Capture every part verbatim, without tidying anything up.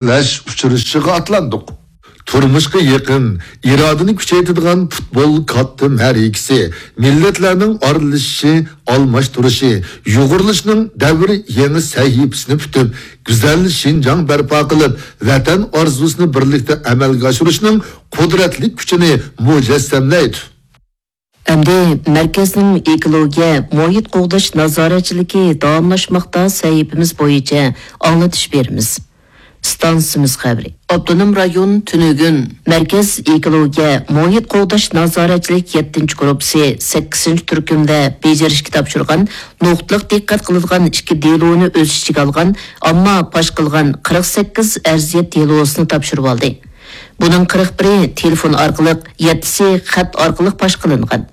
يەككىلەش ئۇچرىشىشىغا ئاتلاندۇق. تۇرمۇشقا يېقىن، ئىرادىنى كۈچەيتىدىغان پۇتبول كاتتا مەرىكىسى، مىللەتلەرنىڭ ئارىلىشىشى، ئالماشتۇرۇشى، يۇغۇرۇلۇشنىڭ دەۋر يېڭى سەھىپىسىنى پۈتۈپ، گۈزەل شىنجاڭ بەرپا قىلىپ، ۋەتەن ئارزۇسىنى بىرلىكتە ئەمەلگە ئاشۇرۇشنىڭ قۇدرەتلىك كۈچىنى مۇجەسسەملەيدۇ. ئەمدى مەركەزنىڭ ئېكولوگىيە، مۇھىت قوغداش نازارەتچىلىكى داۋاملاشماقتا سەھىپىمىز بويىچە ئاڭلىتىش بېرىمىز. ئىستانسىمىز خەۋىرى. ئاپتونوم رايون تۈنۈگۈن مەركەز ئېكولوگىيە، مۇھىت قوغداش نازارەتچىلىك يەتتىنچى گۇرۇپپىسى سەككىزىنچى تۈركۈمدە بېجىرىشكە تاپشۇرغان نۇقتىلىق دىققەت قىلىدىغان ئىككى دېلونى ئۆز ئىچىگە ئالغان، ئامما پاش قىلغان قىرىق سەككىز ئەرزىيەت دېلوسىنى تاپشۇرۇۋالدى. بۇنىڭ قىرىق بىرى تېلېفون ئارقىلىق، يەتتىسى خەت ئارقىلىق پاش قىلىنغان.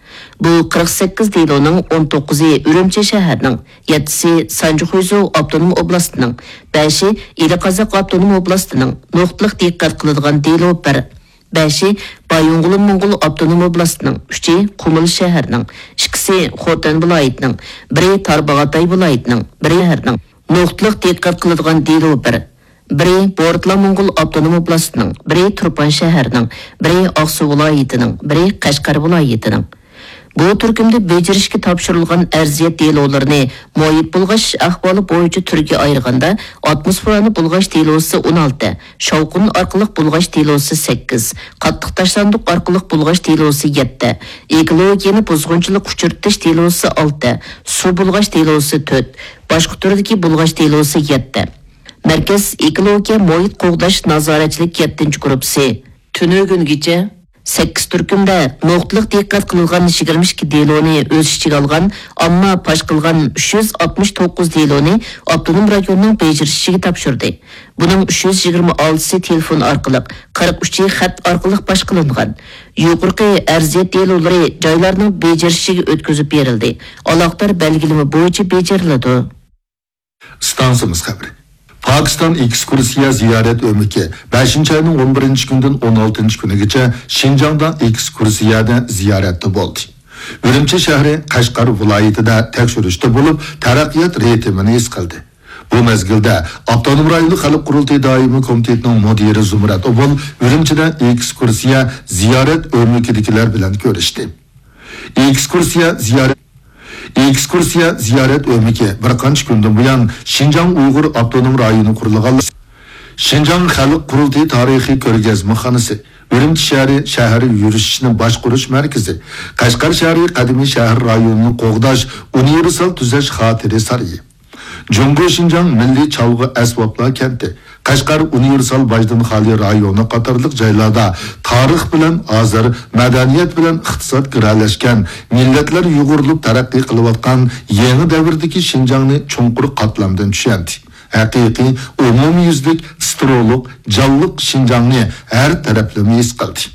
بۇ قىرىق سەككىز دېلونىڭ ئون توققۇزى ئۈرۈمچى شەھەرنىڭ، يەتتىسى سانجى خۇيزۇ ئاپتونوم ئوبلاستىنىڭ، بەشى ئىلى قازاق ئاپتونوم ئوبلاستىنىڭ، نۇقتىلىق دىققەت قىلىدىغان دېلو بىر، بەشى بايىنغولىن موڭغۇل ئاپتونوم ئوبلاستىنىڭ، ئۈچى قۇمۇل شەھەرنىڭ، ئىككىسى خوتەن ۋىلايىتىنىڭ، بىرى تارباغاتاي ۋىلايىتىنىڭ، بىرى شەھەرنىڭ، نۇقتىلىق دىققەت قىلىدىغان دېلو بىر، بىرى بورتلا موڭغۇل ئاپتونوم ئوبلاستىنىڭ، بىرى تۇرپان شەھەرنىڭ، بىرى ئاقسۇ ۋىلايىتىنىڭ، بىرى قەشقەر ۋىلايىتىنىڭ. بۇ تۈركۈمدە بېجىرىشكە تاپشۇرۇلغان ئەرزىيەت دېلولىرىنى مۇھىت بۇلغاش ئەھۋالى بويىچە تۈرگە ئايرىغاندا، ئاتموسفېرانى بۇلغاش دېلوسى ئون ئالتە، شاۋقۇن ئارقىلىق بۇلغاش دېلوسى سەككىز، قاتتىق تاشلاندۇق ئارقىلىق بۇلغاش دېلوسى يەتتە، ئېكولوگىيەنى بۇزغۇنچىلىق ئۇچرىتىش دېلوسى ئالتە، سۇ بۇلغاش دېلوسى تۆت، باشقا تۈردىكى بۇلغاش دېلوسى يەتتە. مەركەز ئېكولوگىيە مۇھىت قوغداش نازارەتچىلىك يەتتىنچى گۇرۇپپىسى تۈنۈگۈنگىچە سەككىز تۈركۈمدە نۇقتىلىق دىققەت قىلىنغان يىگىرمە ئىككى دېلونى ئۆز ئىچىگە ئالغان، ئامما پاش قىلغان ئۈچ يۈز ئاتمىش توققۇز دېلونى ئاپتونوم رايوننىڭ بېجىرىشىگە تاپشۇردى. بۇنىڭ ئۈچ يۈز يىگىرمە ئالتىسى تېلېفون ئارقىلىق، قىرىق ئۈچى خەت ئارقىلىق پاش قىلىنغان. يۇقىرىقى ئەرزىيەت دېلولىرى جايلارنىڭ بېجىرىشىگە ئۆتكۈزۈپ بېرىلدى، ئالاقىدار بەلگىلىمە بويىچە بېجىرىلىدۇ. ئىستانسىمىز خەۋىرى. پاكىستان ئېكسكۇرسىيە زىيارەت ئۆمىكى بەشىنچى ئاينىڭ ئون بىرىنچى كۈنىدىن ئون ئالتىنچى كۈنىگىچە شىنجاڭدا ئېكسكۇرسىيەدە زىيارەتتە بولدى. ئۈرۈمچى شەھىرى، قەشقەر ۋىلايىتىدە تەكشۈرۈشتە بولۇپ، تەرەققىيات رىتىمىنى ھېس قىلدى. بۇ مەزگىلدە ئاپتونوم رايونلۇق خەلق قۇرۇلتىيى دائىمىي كومىتېتىنىڭ مۇدىرى زۇمرەت ئوبۇل ئۈرۈمچىدە ئېكسكۇرسىيە زىيارەت ئۆمىكىدىكىلەر بىلەن كۆرۈشتى. ئېكسكۇرسىيە زىيارەت ئېكسكۇرسىيە زىيارەت ئۆمىكى بىر قانچە كۈندىن بۇيان شىنجاڭ ئۇيغۇر ئاپتونوم رايونى قۇرۇلغانلىقى، شىنجاڭ خەلق قۇرۇلتىيى تارىخىي كۆرگەزمىخانىسى، ئۈرۈمچى شەھىرى شەھەر يۈرۈشىنى باشقۇرۇش مەركىزى، قەشقەر شەھىرى قەدىمىي شەھەر رايونىنى قوغداش ئۇنىۋېرسال تۈزەش خاتىرە سارىيى، جۇڭگو شىنجاڭ مىللىي چالغۇ ئەسۋابلار كەنتى، قەشقەر ئۇنىۋېرسال باجدىن خالىي رايونى قاتارلىق جايلاردا تارىخ بىلەن ھازىر، مەدەنىيەت بىلەن ئىقتىساد گىرەلەشكەن، مىللەتلەر يۇغۇرۇلۇپ تەرەققىي قىلىۋاتقان يېڭى دەۋردىكى شىنجاڭنى چوڭقۇر قاتلامدىن چۈشەندى. ھەقىقىي ئومۇميۈزلۈك، سترولۇق، جانلىق شىنجاڭنى ھەر تەرەپلىمە ھېس قىلدى.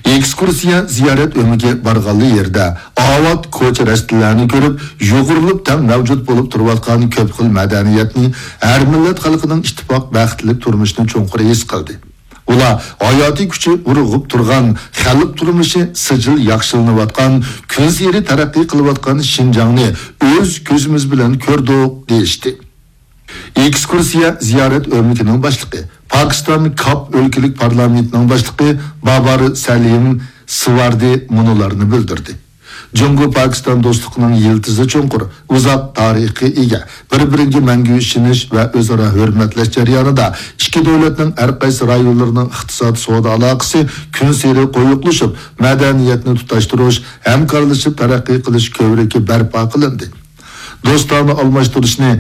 ئېكسكۇرسىيە زىيارەت ئۆمىكى بارغانلا يېرىدە ئاۋات كوچا-رەستىلەرنى كۆرۈپ، يۇغۇرۇلۇپ تەڭ مەۋجۇت بولۇپ تۇرۇۋاتقان كۆپ خىل مەدەنىيەتنى، ھەر مىللەت خەلقىنىڭ ئىتتىپاق، بەختلىك تۇرمۇشىنى چوڭقۇر ھېس قىلدى. ئۇلار ھاياتىي كۈچى ئۇرغۇپ تۇرغان، خەلق تۇرمۇشى سىجىل ياخشىلىنىۋاتقان، كۈنسېرى تەرەققىي قىلىۋاتقان شىنجاڭنى ئۆز كۆزىمىز بىلەن كۆردۇق، دېيىشتى. ئېكسكۇرسىيە زىيارەت ئۆمىكىنىڭ باشلىقى، پاكىستان كاپ ئۆلكىلىك پارلامېنتىنىڭ باشلىقى بابار سەلىم سىۋاردى مۇنۇلارنى بىلدۈردى. جۇڭگو پاكىستان دوستلۇقىنىڭ يىلتىزى چوڭقۇر، ئۇزاق تارىخقا ئىگە، بىر-بىرىگە مەڭگۈ ئىشىنىش ۋە ئۆزئارا ھۆرمەتلەش جەريانىدا ئىككى دۆلەتنىڭ ھەر قايسى رايونلىرىنىڭ ئىقتىساد، سودا ئالاقىسى كۈنسېرى قويۇقلىشىپ، مەدەنىيەتنى تۇتاشتۇرۇش، ھەمكارلىشىپ تەرەققىي قىلىش كۆۋرۈكى بەرپا قىلىندى. دوستانە ئالماشتۇرۇشنى